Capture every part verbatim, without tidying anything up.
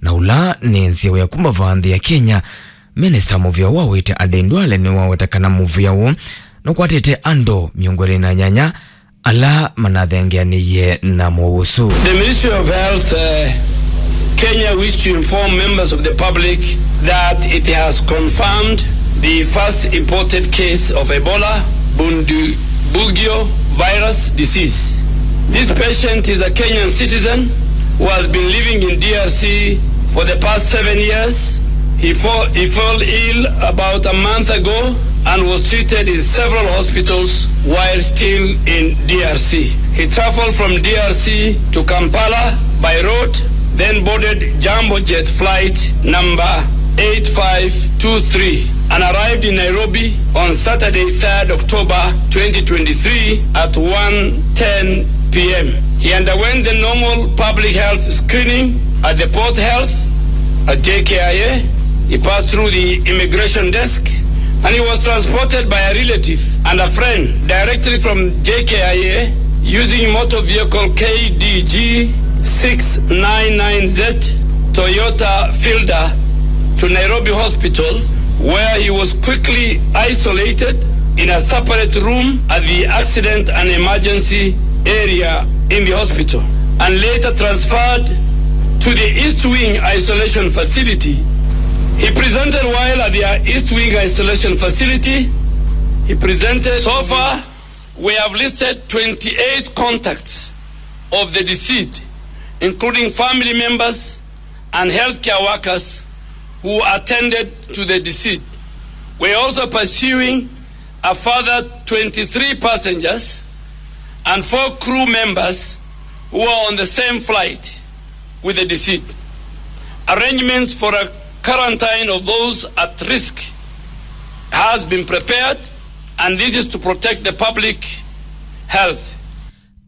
na ũla nĩ nzĩa wĩa kuma vaa nthĩ ya Kenya. Minista mũvĩa wa ũiiti Aden Duale nĩwaweta kana mũvĩa ũũ nũkwatĩte andũ mĩongo ĩlĩ na nyanya ala manathengeanĩie na mũuo ũsu. The Ministry of Health, uh, Kenya wish to inform members of the public that it has confirmed the first imported case of Ebola Bundibugyo virus disease. This patient is a Kenyan citizen who has been living in D R C for the past seven years. He, fo- he fell ill about a month ago and was treated in several hospitals while still in D R C. He traveled from D R C to Kampala by road, then boarded Jambo Jet flight number eight five two three and arrived in Nairobi on Saturday, third October twenty twenty-three at one ten p m. He underwent the normal public health screening at the Port Health at J K I A. He passed through the immigration desk and he was transported by a relative and a friend directly from J K I A using motor vehicle K D G six nine nine Z Toyota Fielder to Nairobi Hospital, where he was quickly isolated in a separate room at the accident and emergency area in the hospital and later transferred to the East Wing Isolation Facility. He presented while at the East Wing Isolation Facility. He presented. So far, we have listed twenty-eight contacts of the deceased, including family members and healthcare workers who attended to the deceased. We are also pursuing a further twenty-three passengers and four crew members who are on the same flight with the deceased. Arrangements for a quarantine of those at risk has been prepared, and this is to protect the public health.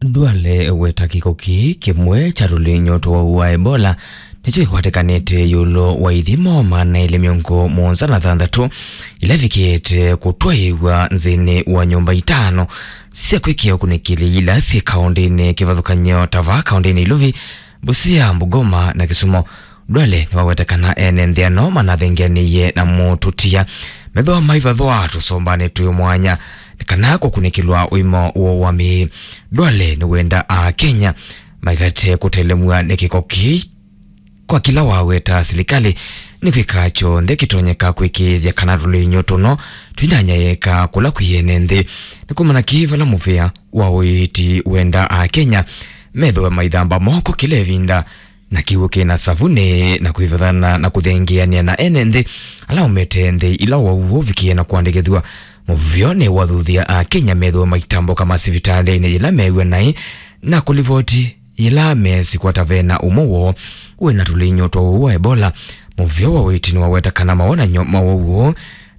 Duale weta kĩko kĩĩ kĩmwe kya tũlĩnyũ twa ũwau wa Ebola nĩkyo kĩkwatĩkanĩte ĩũlũ wa ithimo maana elĩ mĩongo mũonza na thanthatũ ila ivikĩte kũtwaĩĩw'a nthĩnĩ wa nyũmba itano sya kwĩkĩa ũkunĩkĩli ila syĩ kaũndĩnĩ kĩvathũkany'o ta vaa kaũndĩnĩ Iluvi, Busia, Bungoma na Kisumu. Duale nĩwaweta kana ene nthĩ ano manathengeanĩie na mũtũtia methĩwa maivathwa tũsombanĩ twĩ mwanya nĩ kana kũkunĩkĩlwa ũima woo wa mĩĩ. Duale nĩwenda Akenya maikate kũtelemw'a nĩ kĩko kĩĩ kwa kĩla waweta silikalĩ nĩ kwĩka kyonthe kĩtonyeka kwĩkĩĩthya kana tũlĩnyũ tũno tũinanyaĩĩka kũla kwĩ ene nthĩ. Nĩ kumana kĩĩ vala mũvĩa wa ũiiti wenda Akenya methĩwe maithamba moko kĩla ĩvinda na kĩw'ũ kĩ na savunĩ na kwĩvathana na kũthengeanĩa na ene nthĩ ala maumĩte nthĩ ila ũwau ũvikie na kũandĩkĩthw'a. Mũvĩa nĩwathuthya Akenya methĩwe maitambũka masivitalĩnĩ yĩla meew'a naĩ na kũlivoti yĩla meesikwa ta ve na ũmwe woo wĩ na tũlĩnyũ twa ũwau wa Ebola. Mũvĩa wa ũiiti nĩwaweta kana mawonany'o ma ũwau ũũ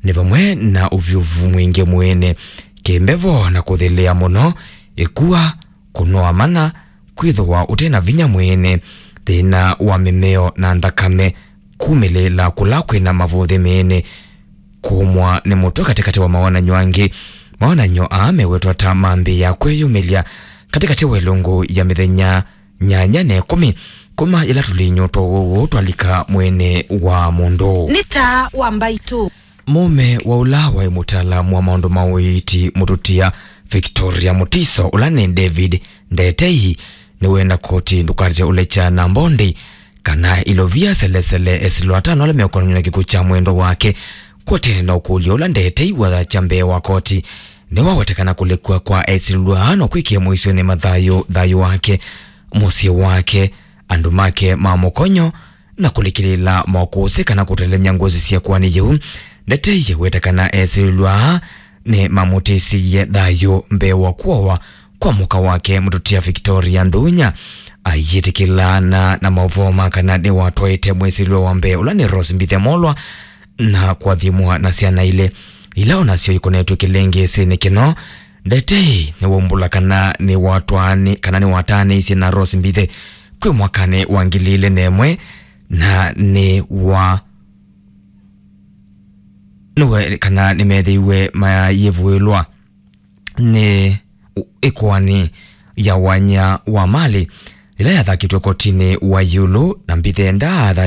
nĩ vamwe na ũvyũvu mwingĩ mwĩĩnĩ, kĩmbevo na kũthĩlĩa mũno, ĩkua, kũnoa mana, kwĩthĩwa ũte na vinya mwĩĩnĩ, thĩna wa mĩmeo na nthakame, kumĩlĩĩla kũla kwĩ na mavũthĩ mĩĩnĩ, kũmwa nĩ mũtwe katĩkatĩ wa mawonany'o angĩ. Mawonany'o aa mewetwa ta mambĩĩa kwĩyumĩlya katĩkatĩ wa ĩlungu ya mĩthenya nyanya na ĩkũmi kuma yĩla tũlĩnyũ twa ũwau twalika mwĩĩnĩ wa mũndũ. Nĩ taa wa mbaitũ. Mũũme wa ũla waĩ mũtaalamu wa maũndũ ma ũiiti mũtũtia Victoria Mutiso, ũla nĩ David Ndetei, nĩwenda koti ndũkate ũlekya na mbondi kana ilovia selesele esilwa atano ala meũkonany'a na kĩkw'ũ kya mwendwa wake. Kwotene na ũkũlyo ũla Ndetei wathakya mbee wa koti, nĩwawetekana kũlekw'a kwa esilwa aa no kwĩkĩe mũisyonĩ mathayũ, thayũ wake, mũsyĩ wake, andũ make ma mũkonyo, na kũlikĩlĩĩla mokũsĩ kana kũtelemya ngũsĩ sya ĩkoani yĩu. Ndetei weta kana esilwa aa nĩmamũtĩsĩie thayũ mbee wa kũawa kwa mũka wake mũtũtia Victoria Nthunya. Ayĩtĩkĩlana na maũvoo ma kana nĩwatwaĩte mwĩsilwa wa mbee ũla nĩ Rose Mbithe Molwa na kũathimwa na syana ilĩ ila o nasyo ikonetw'e kĩlĩngĩsĩnĩ kĩno. Ndetei nĩwaumbũla kana nĩwatwaanĩ-, kana nĩwataanĩisye na Rose Mbithe kwĩ mwakanĩ wa ngili ilĩ na ĩmwe, na nĩ wa nĩwe kana nĩmethĩiwe mayĩvũĩlwa nĩ ĩkoani ya wanya wa malĩ ĩla yathakĩtwe kotinĩ wa ĩũlũ, na Mbithe ndaatha